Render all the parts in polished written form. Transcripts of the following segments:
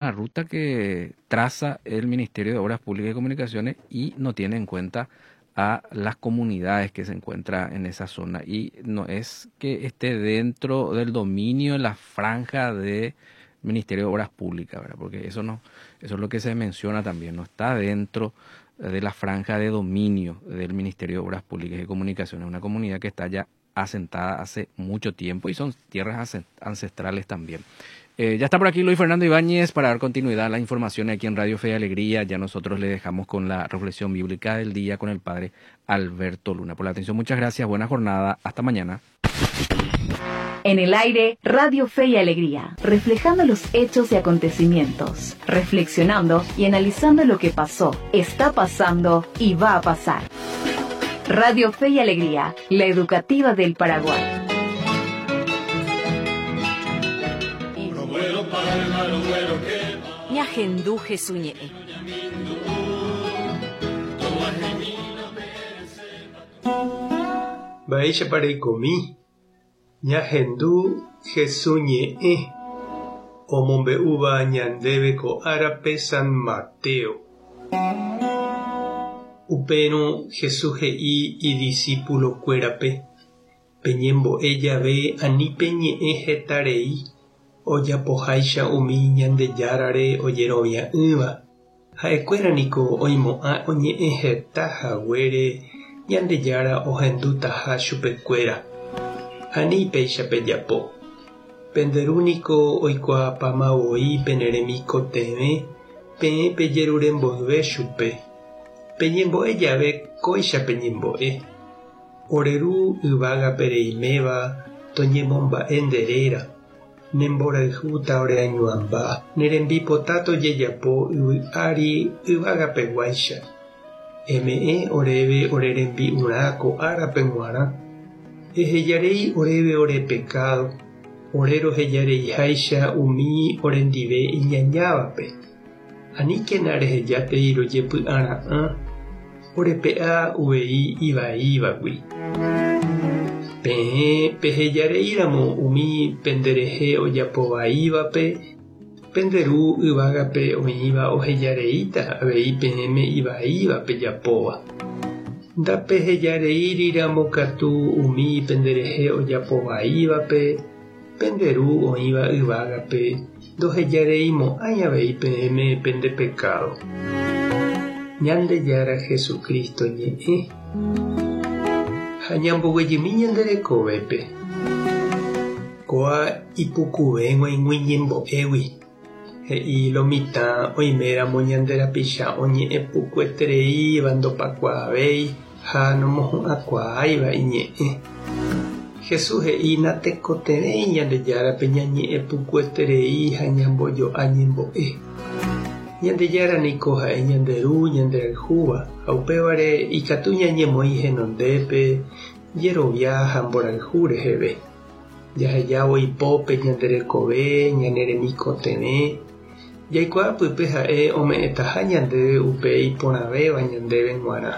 Ruta que traza el Ministerio de Obras Públicas y Comunicaciones y no tiene en cuenta a las comunidades que se encuentran en esa zona. Y no es que esté dentro del dominio de la franja del Ministerio de Obras Públicas, ¿verdad? Porque eso no, eso es lo que se menciona también, no está dentro de la franja de dominio del Ministerio de Obras Públicas y Comunicaciones, una comunidad que está ya asentada hace mucho tiempo y son tierras ancestrales también. Eh, ya está por aquí Luis Fernando Ibáñez para dar continuidad a la información aquí en Radio Fe y Alegría. Ya nosotros le dejamos con la reflexión bíblica del día con el padre Alberto Luna. Por la atención, muchas gracias. Buena jornada. Hasta mañana. En el aire, Radio Fe y Alegría, reflejando los hechos y acontecimientos, reflexionando y analizando lo que pasó, está pasando y va a pasar. Radio Fe y Alegría, la educativa del Paraguay. Ñahendu Jesús ñe'ẽ. Mba'éichapa reikomi? Ñahendu Jesús ñe'ẽ omombe'úva ñandéve ko árape San Mateo. Upérõ Jesús he'i idisípulokuérape, Peñembo'e jave ani peñe'ẽ heta rei, ojapoháicha umi Ñandejárare ojerovia'ỹva. Ha'ekuéra niko oimo'ã oñe'ẽ heta haguére Ñandejára ohendutaha chupekuéra. Ani péicha pejapo. Pende Ru niko oikuaapáma voi pene remikotevẽ peẽ pejerure mboyve chupe. Peñembo'e jave kóicha peñembo'e, Ore Ru yvágape reiméva toñemomba'e nde réra, ne mborayhúta ore añuãmba, ne rembipota tojejapo yvy ári yvagapeguáicha. Eme'ẽ oréve ore rembi'urã ko árape g̃uarã. Ehejarei oréve ore pekádo, ore rohejareiháicha umi orendive iñañávape. Aníkena rehejátei rojepy'ara'ã, orepe'a uvei ivaívagui. Peẽ pehejareíramo umi penderehe ojapo vaívape, pende Ru yvágape oĩva ohejareíta avei peẽme ivaíva pejapóva. Ndapehejareíriramo katu umi penderehe ojapo vaívape, Pende Ru oĩva yvágape ndohejareimo'ãi avei peẽme pende pekádo. Ñandejára Jesucristo ñe'ẽ ha ñamboguejymi ñande rekovépe. Kóa ipukuve g̃uaig̃ui ñembo'égui, he'i lo mitã oiméramo ñande rapicha oñe'ẽ pukuetereíva ndopakuaavéi ha nomohu'ãkuaáiva iñe'ẽ. Jesús he'i natekotevẽi Ñandejárape ñañe'ẽ pukueterei ha ñambojo'a ñembo'e. Ñandejára niko ha'e ñande Ru ñanderayhúva ha upévare ikatu ñañemoĩ henondépe jerovia ha mborayhu reheve. Jahejávo ipópe ñande rekove, ñane remikotevẽ, jaikuaa pype ha'e ome'ẽtaha ñandéve upe iporãvéva ñandéve g̃uarã.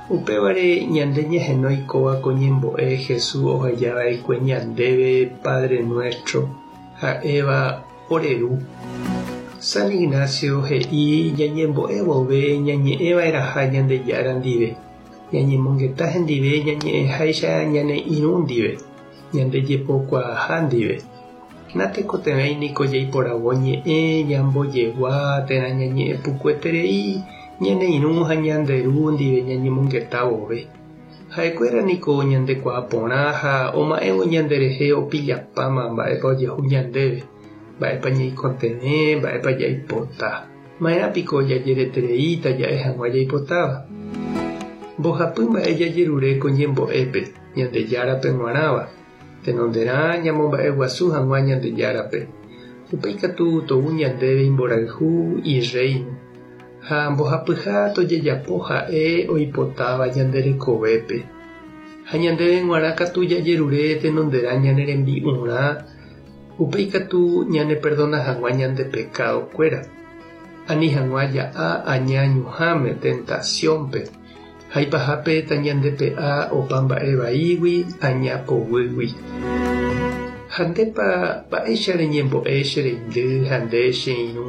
Upévare ñande ñahenói kóva ko ñembo'e Jesús oheja va'ekue ñandéve Padre Nuestro, ha'éva ore Ru. San Ignacio he'i ñañembo'e vove ñañe'ẽ va'erãha Ñandejára ndive, ñañemongeta hendive ñañe'ẽháicha ñane irũ ndive, ñande jepokuaaha ndive. Natekotevẽi niko jaiporavo ñe'ẽ ñambojegua térã ñañe'ẽ pukueterei ñane irũ ha ñande ru ndive ñañemongeta vove. Ha'ekuéra niko ñandekuaa porã ha oma'ẽvo ñanderehe opillapáma mba'épa ojehu ñandéve, mba'épa ñaikotevẽ, mba'épa jaipota. Ma'erã piko jajeretereíta ja'e hag̃ua jaipotáva? Mbohapy mba'e jajerure ko ñembo'épe, Ñandejárape g̃uarãva, tenonderã ñamomba'eguasu hag̃ua Ñandejárape. Upéi katu tou ñandéve imborayhu, Irréino, ha mbohapyha tojejapo ha'e oipotáva ñande rekovépe. Ha ñandéve g̃uarã katu jajerure tenonderã ñane rembi'urã, upéi katu ñaneperdona hag̃ua ñande pekadokuéra, ani hag̃ua ja'a aña ñuhãme, tentasiónpe, ha ipahápe tañandepe'a opa mba'e vaígui aña poguýgui. Ha ndépa mba'éicha reñembo'e che reindy ha nde che irũ?